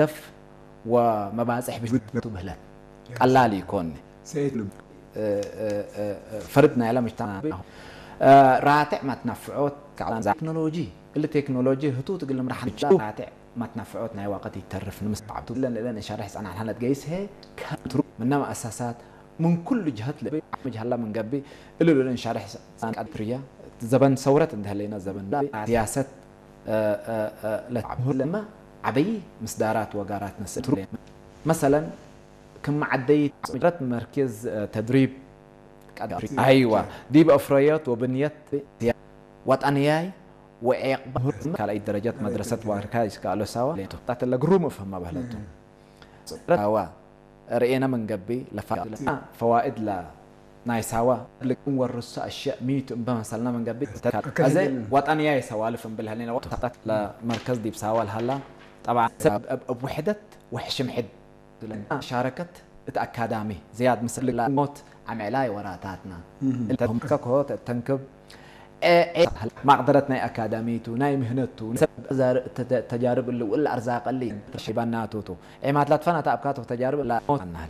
ህደፍ ወመባፅሕ ብሽቱ ብህለት ቀላል ይኮን ፈርድና ያለ ምጅተማ ራትዕ ማትናፍዖት ቴክኖሎጂ እሊ ቴክኖሎጂ ህቱ ትግል ምራሕን ራትዕ ማትናፍዖት ናይ ዋቀት ይተርፍ ንምስዓብቱ ለን ለን ሻርሕ ጸናሕ ሓነት ገይስ ሄ ከትሩ ምና መኣሳሳት ምን ኩሉ ጅሀት ለበይ ዓመጅ ሀላ ምን ገቢ እሉ ለን ሻርሕ ጸናሕ ፕርያ ዘበን ሰውረት እንደህለይና ዘበን ሲያሰት ለማ ዓበይ ምስዳራት ወጋራት ነስእትሩ መሰለን ክም ዓደይ ረት መርኬዝ ተድሪብ ኣይዋ ዲብ ኣፍረዮት ወብንየት ወጣንያይ ወዔቅባ ካልኣይ ደረጃት መድረሰት ዋርካ ይስካሎ ሳዋ ጣት ለግሩም እፍህማ ባህለቱ ዋ ርእየና መንገቢ ለፋ ፈዋኢድ ላ ናይ ሳዋ ልቅም ወርሱ ኣሸእ ሚቱ እምበ መሰልና መንገቢ ኣዘ ወጣንያ የሰዋልፍ እምብል ሃሊና ወቅት ለመርከዝ ዲብ ሳዋ ልሃላ ጠብዓ ሰብ እብ ውሕደት ወሕሽም ሕድ ሻረከት እቲ ኣካዳሚ ዝያድ ምስል ሞት ዓምዕላይ ወራታትና እልተምከኮ ተንክብ ማቅደረት ናይ ኣካዳሚቱ ናይ ምህነቱ ተጃርብ እሊ ውል ኣርዛቀሊ ተሽባናቱቱ ዒማት ላትፋና ተኣብካቶ ተጃርብ ሞት ኣናል